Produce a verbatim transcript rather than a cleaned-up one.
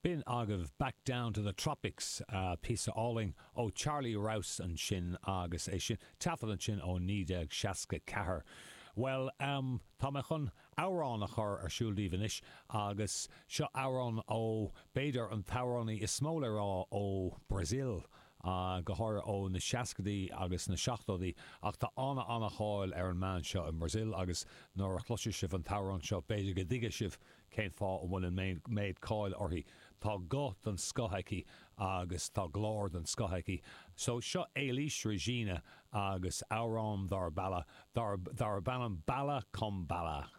B'in agaibh Back Down to the Tropics, píosa álainn ó Charlie Rouse ansin agus é sin taifead ansin ó naoi déag seasca ceathair. Bhuel, um, tá mé chun amhrán a chur ar siúl daoibh anois agus seo amhrán ó b'fhéidir an t-amhránaí is mó le rá ó Brazil, go háirithe ó na seascaidí agus na seachtóidí, ach tá ana ana cháil ar an mbean seo i mBrazil agus nuair a chloisfidh sibh an t-amhrán seo b'fhéidir go dtuigfidh sibh cén fáth a bhfuil an méid cáil uirthi. Tá guth den scoth aici agus tá glór den scoth aici. So seo Elis Regina agus amhrán darb balla, darb ainm Bala Com Bala.